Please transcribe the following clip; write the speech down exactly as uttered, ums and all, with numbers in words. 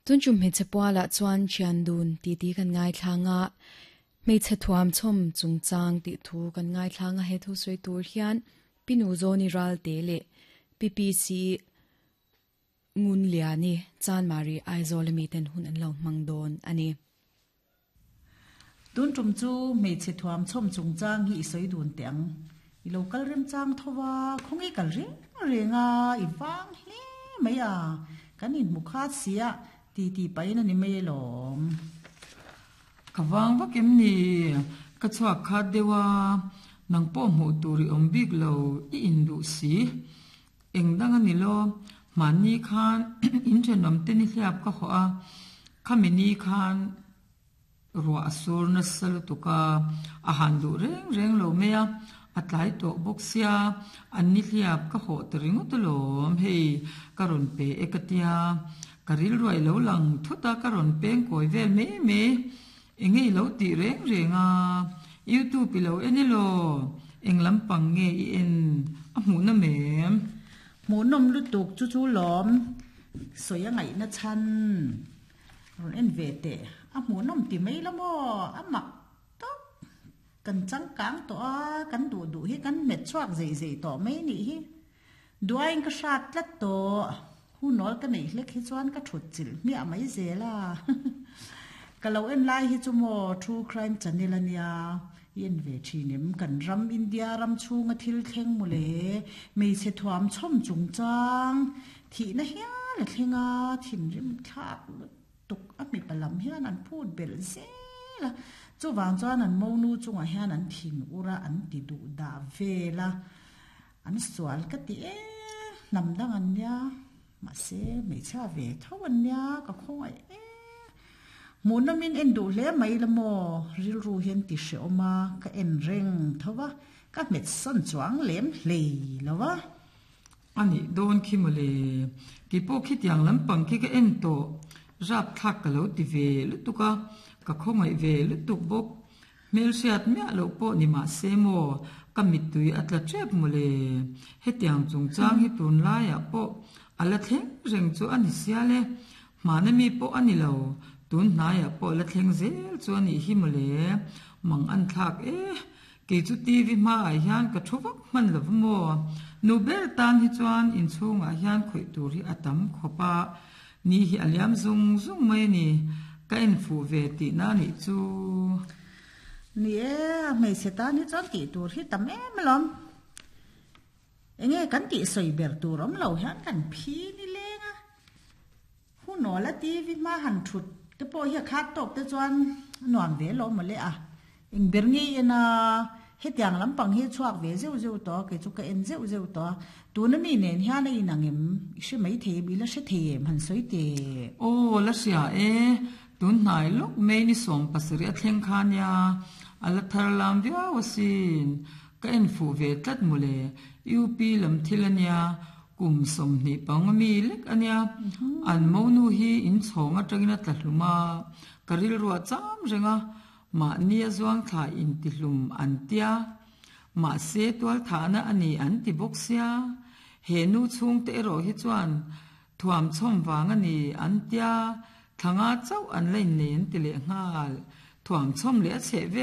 Tun tum hmeichhe pualah chuan thian dun titi kan ngaithlang a, hmeichhe thuam chhawm chungchang tih thu kan ngaithlang a he thu sawi tur hian Pinu Zawni Ralte leh P P C Ngun Liani Chanmari Aizawl ami ten hun an lo hmang dawn a ni. Tun tum chu hmeichhe thuam chhawm chungchang hi i sawi dun teh ang. I lo kal remchang tho va, khawnge kal reng reng a, i vang hle mai a, kan inhmu khat sia ti ti pahin a ni mai alawm. Ka vang vak em ni? Ka chhuak khat deuh a, nang pawh hmuh tur i awm bik lo, i induh si. Eng dang a ni lo, mahni khan in thenawm te ni hliap ka hawh a, khami ni khan ruah a sur nasa lutuk a, a han duh reng reng lo mai a, a tlai tawh bawk sia, an ni hliap ka hawh ta ringawt alawm, hei ka rawn pe e ka tia, ka rilruai lo lang thut a ka rawn peng kawi vel mai mai, enge i lo tih reng reng a, YouTube i lo en elaw, eng lampang nge i en, a hmuh nawm em? Hmuh nawm lutuk chu chu lawm, sawi a ngaihna chhan rawn en ve teh, a hmuh nawm ti mai la maw, a mak tawp, kan changkang tawh a, kan duh duh hi kan hmet chhuak zei zei tawh mai nih hi, duain ka hrat tlat tawh, hunawl ka neih hlek hi chuan ka thut chilh hmiah mai zel a, ka lo en lai hi chu maw True Crime Channel a nia, i en ve thin em, kan ram India ram chhunga thil thleng mawle, hmeichhe thuam chhawm chungchang thihna hial a thleng a, thinrim thlak lutuk a mipa lam hian an phut belh zel a, chuvang chuan an monu chungah hian an thin ur a, an ti duh dah vel a, an sual ka ti e, hnam dang an nia, mahse hmeichhia ve tho an nia, ka khawngaih e. Hmuh nawmin en duh hle mai la maw, rilru hian ti hrehawm a, ka en reng tho va, ka hmet sawn chuang lem hlei lo va. A nih dawn khi mawle, keipawh khitiang lampang khi ka en tawh, rapthlak ka lo ti ve lutuk a, ka khawngaih ve lutuk bawk. Hmelhriat miah loh pawh ni mahse maw, ka mittui a tla tep mawle. Hetiang chungchang hi tunlaiah pawh a la thleng reng chu a ni sial e, hmana mi pawh a ni lo, tun hnaiah pawh la thleng zel chu a nih hi mawle, mang an thlak e, kei chu T V hmaah hian ka thu vak hman lo maw, nu ber tan hi chuan inchhungah hian khawih tur hi a tam khawp a, ni hi a liam zung zung mai a ni, ka en fuh ve tihna a nih chu. Ni e, a hmeichhe tan hi chuan tih tur hi tam em alawm. Enge kan tih sawi ber tur awm lo hian kan phi ni leng a, hunawl a T V hma han thut te pawh hi a khat tawk te chuan a nuam ve alawm mawle a, eng ber ngei en a, hetiang lampang hi chhuak ve zeuh zeuh tawh a, kei chu ka en zeuh zeuh tawh a, tuna mi nen hian a inang em, i hre mai thei em, i la hre thei em han sawi teh. Aw la hria e, tun hnai lawk mai ni sawm pasarih a thleng kha nia, a la thar lam viau asin, ka en fuh ve tlat mawle, U P lam thil a nia, kum sawmhnih panga mi lek a nia, an monu hi inchhawng atangin a tla hlum a, ka rilruah cham reng a, mahni a zuang thla intihlum an tia, mahse tualthahna a ni an ti bawk sia, he nu chhungte erawh hi chuan thuam chhawm vang a ni an tia, thlanga chauh an la innei an ti leh nghal, thuam chhawm leh a chheh vel